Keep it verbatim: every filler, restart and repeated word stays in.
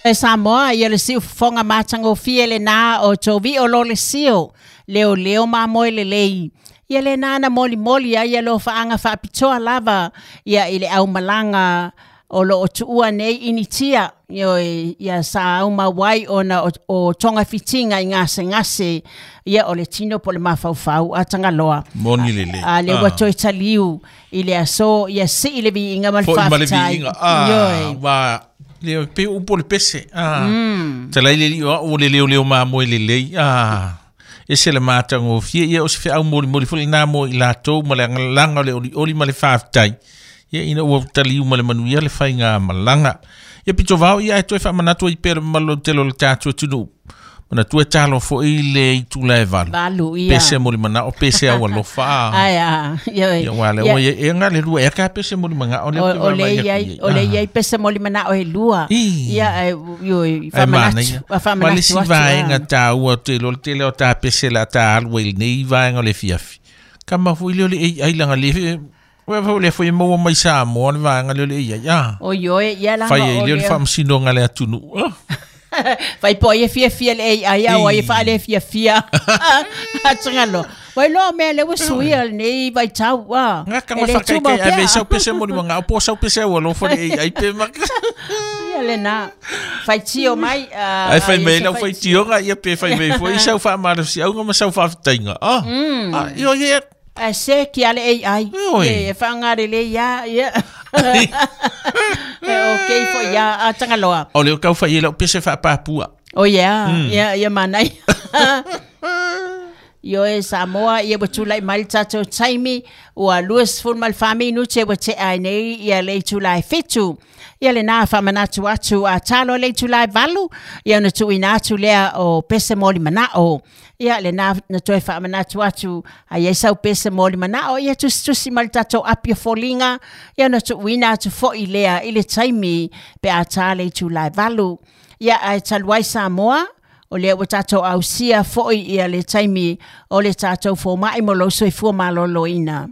E Samoa, ia le siufofoga matagofie lenā o toviʻo lo le sio, leoleo mamoe lelei. Ia lenā na molimoli ai ia lofaaga faapitoa lava ia i le aumalaga o loo tuua nei Initia, ioe, ia sa aumau ai ona o, o togafitiga i gasegase, ia o le tino po le mafaufau a Tagaloa. Moni lelei. A le ua toe taliu i le aso, ia sii le viiga ma le Foʻi ma le faafetai. Viiga. Ah, Ioe. Wa le pe upu o le pese. Ah. Talai le lio o le leo leo mamoe lelei. Ah. Ese le matagofie ia o se feau molimoli foi lenā mo i latou ma le agalaga o le olioli ma le faafetai. Ia ina ua taliu ma le manuia le faiga malaga. Ia pito vao ia e toe faamanatu ai pea le mamalu tele o le tatou atunuu. Manatua e talo foi le itula e valu. Valu ia. Pese mo le manao, pese au alofa. Ai a, ioe. Ia wa le o e nga le lua e ka pese mo le manao le O, o le iai, o le iai pese mo le manao e lua. Ī. Ia, e, ioe, Ai faamanatu, manaia. faamanatu Ma le isi atu, vaega ah. taua o te lo le tele o ta pese la ta alu ai lenei vaega o le fiafi. Kama foi le o le A I langa le Ua foi le foi maua mai Samoa le vaega le o le A I. Ah. O ioe, ia langa Fai ai o le o le le faamasinoga le atunuu. Ah. Fai po ia fiafia le A I, a o ia faale fiafia. Atangalo. Wai loa mea le ua suia lenei vaitau, ah. Nga kama E le whakai tumau kai ave pea. Sau pese mo ni manga po sau pese au alofa le A I pe maka. Ia le na. Fai tio mai. ah, Ai fai ah, mai ia lau se fai tioga ia pe fai mai foi sau whaamara si au ma sau whaafitainga. Ah. Ah, io ia. A se ki ale A I. Oi. E whaangare le ia, ia. E okay fo ia a Tangaloa. O leo kau whai e lau pese whaapapua. O ia, ia, ia manai. Ioe Samoa, ia ua tulai mai le tatou taimi, ua luasefulu ma le fa minute ua tea ai nei ia le itula e fitu. Ia lenā faamanatu atu a talo le itula e valu, ia ona tuuina atu lea o pese mo le manao. Ia lenā na toe faamanatu atu a iai sau pese mo le manao, ia tusitusi ma le tatou api o foliga, ia ona tuuina atu foʻi lea i le taimi pe a tā le itula e valu. Ia ae talu ai Samoa, o lea ua tatou ausia foʻi ia le taimi o le tatou fomaʻi mo lou soifua malōlōina.